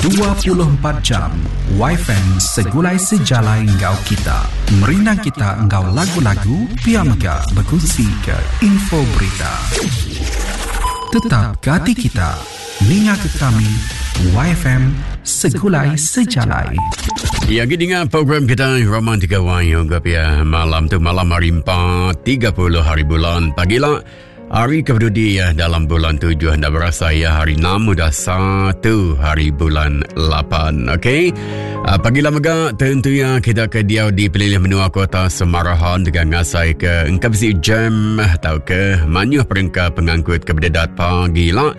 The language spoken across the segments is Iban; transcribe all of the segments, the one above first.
24 jam Wifi segulai sejalai enggau kita. Merindang kita enggau lagu-lagu pia mega bekunsi ke info berita. Tetap ke ati kita. Ninga ke kami YFM Segulai Sejalai. Ya, lagi dengar program kita Romantika Y Ungkap ya malam tu malam hari 4 30 hari bulan pagi lah. Hari kepenudi ya dalam bulan tujuh anda berasa ya hari enam udah satu hari bulan lapan. Okey. Uh, pagi lah mega tentunya kita ke diau di pelilih menua kota Semarahan dengan ngasai ke engka bisi jam atau ke manyuh perengka pengangkut ke berdedat pagi lah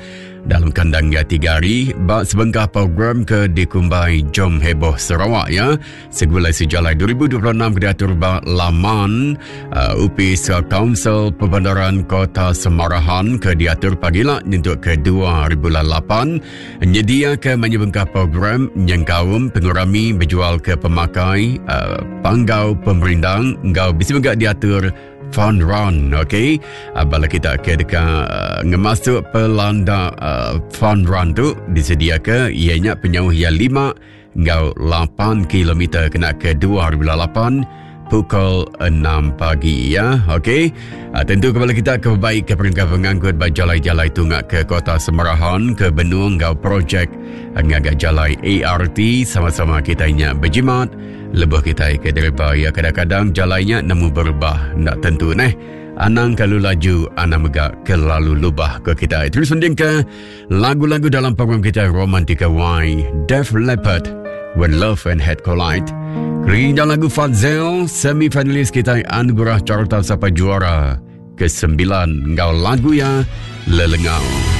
dalam kandang ya tiga hari ba sebengkah program ke dikumbai Jom Heboh Sarawak ya. Segulai Sejalai 2026 diatur ba laman uh, Upis Kaunsil Perbandaran Kota Semarahan ke diatur pagi lah nyentuk ke 2008 nyedia ke menyebengkah program nyengkaum pengurami berjual ke pemakai uh, panggau pemerindang enggau bisi mega diatur fun run okey uh, bala kita ke deka uh, ngemasuk pelanda uh, fun run tu disediaka ianya penyauh ia 5 enggau 8 kilometer kena ke 2008 pukul 6 pagi ya. Okey. Uh, tentu kepala kita ke baik ke perengka pengangkut ba jalai-jalai tunga ke Kota Semarahan ke Benung enggau projek ngaga jalai ART sama-sama kita nya berjimat lebuh kita ke dereba ya kadang-kadang jalainya nemu berubah ndak tentu neh. Anang kalu laju, anang mega kelalu lubah ke kita. Terus mending ke Lagu-lagu dalam program kita Romantika Y, Def Leppard, When Love and Hate Collide. Kerindah lagu Fadzel, semi-finalis kita Anugerah Carta Sapa Juara ke-9 enggau lagu ya Lelengau.